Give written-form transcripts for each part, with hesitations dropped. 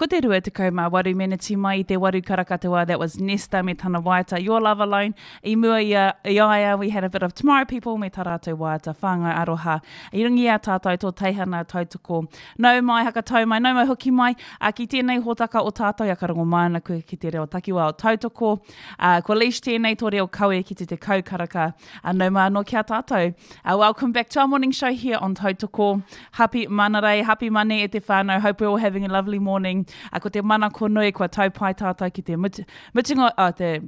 Ko te 28 meneti mai i te waru karaka te wā, that was Nesta me tana waiata Your Love Alone. I mua i a, i a ia, we had a bit of Tomorrow People me tā rātou waiata Whāngai Aroha. I runga i a tātou tō teihana tautoko. Nau mai, hakatau mai, nau mai hoki mai, ā, ki tēnei hōtaka o tātou, ia ka rongo mai ana koe ki te reo takiwā o Tautoko. Ā, ko Leish tēnei tō reo kawe ki te tekau karaka. Ā, nau mai anō ki a tātou. Uh, welcome back to our morning show here on Tautoko. Happy Manarei, happy Mane e te whānau. Hope we're all having a lovely morning. Uh, ko te mana ko nui, kua tau pai tātou ki te mutu, mutunga, uh, te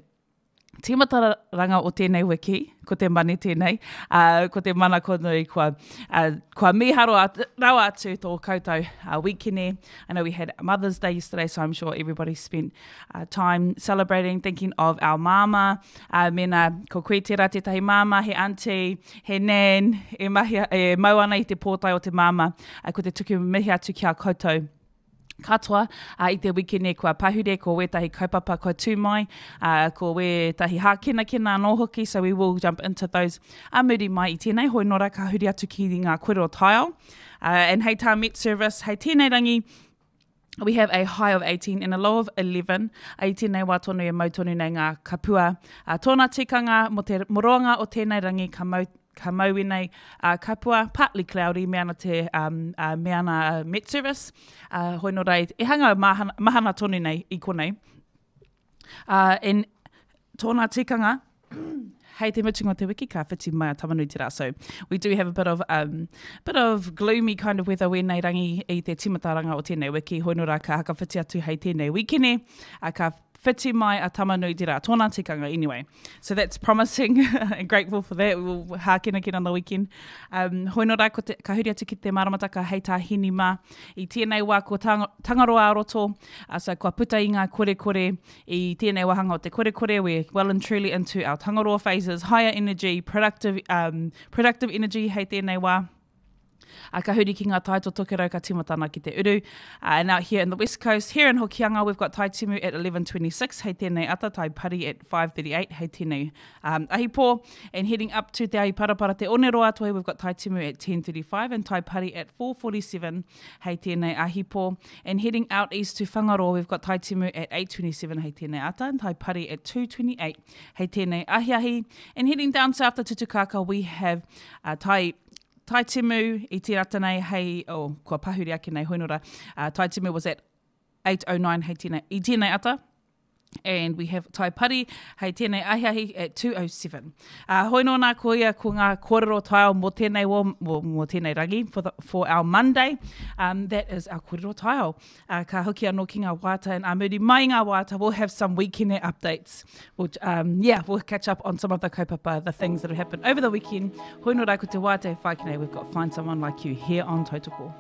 tīmataranga o tēnei wiki, ko te mane tēnei, uh, ko te mana ko nui, kua, uh, kua mīharo at, rawa atu tō koutou uh, wikene. I know we had Mother's Day yesterday, so I'm sure everybody spent uh, time celebrating, thinking of our māmā. Uh, mēnā ko koe tērā tētahi māmā, he auntie, he nan, e, mahi, e mau ana i te pōtae o te māmā, uh, ko te tuku mihi atu ki a koutou katoa uh, i te wikene kua pahure, ko wētahi kaupapa kua tū mai, uh, ko wētahi hākenakena anō hoki, so we will jump into those a muri mai i tēnei hoi nora ka huri atu ki ngā kōrero taiao. Uh, and hei tā Met Service, hei tēnei rangi, We have a high of 18 and a low of 11. I tēnei wā tonu e mau tonu nei ngā kapua. Uh, tōna tikanga mō te moroanga o tēnei rangi ka mau, ka mau ēnei uh, kapua, partly cloudy, me ana te, um, uh, me ana uh, Met Service. Uh, hoi nō rei, e hanga mahana, mahana tonu nei i konei. Uh, and tōna tikanga, hei te mutunga o te wiki ka whiti mai a Tamanui te rā. So we do have a bit of, um, bit of gloomy kind of weather wēnei rangi i te timataranga o tēnei wiki. Hoi nō rā ka hakawhiti atu hei tēnei wikene, uh, ka whiti mai a Tamanui te rā. Tōna tikanga anyway. So that's promising and grateful for that. We will hākenakena on the weekend. Um, hoi nō rā, ko te, ka huri atu ki te maramataka hei tā Hini mā. I tēnei wā ko tang, Tangaroa a roto, uh, so kua puta i ngā korekore i tēnei wāhanga o te korekore, we're well and truly into our Tangaroa phases, higher energy, productive, um, productive energy hei tēnei wā. Uh, ka huri ki ngā tai to tokerau ka tīmatana ki te uru. Uh, and out here in the west coast, here in Hokianga, we've got Tai Timu at 11.26, hei tēnei ata, Tai Pari at 5.38, hei tēnei um, ahipō. And heading up to Te Ahiparapara Te Oneroa Toi, we've got Tai Timu at 10.35 and Tai Pari at 4.47, hei tēnei ahipō. And heading out east to Whangaroa, we've got Tai Timu at 8.27 hei tēnei ata and Tai Pari at 2.28 hei tēnei ahiahi. And heading down south to Tutukaka, we have uh, Tai Tai Timu i te rata nei hei, oh, kua pahuri ake nei hoinora, uh, Tai Timu was at 8.09 hei tēnei, i tēnei ata, and we have Tai Pari hei tēnei ahiahi at 2.07. Uh, hoi nō nā ko ia ko ngā kōrero taiao mō tēnei wō, mō, mō tēnei rangi, for, the, for our Monday. Um, that is our kōrero taiao. Uh, ka hoki anō ki ngā wāta, and a muri mai ngā wāta, we'll have some weekend updates. We'll, um, yeah, we'll catch up on some of the kaupapa, the things that have happened over the weekend. Hoi nō rā ko te wāta e whai ki nei, we've got Find Someone Like You here on Tautoko.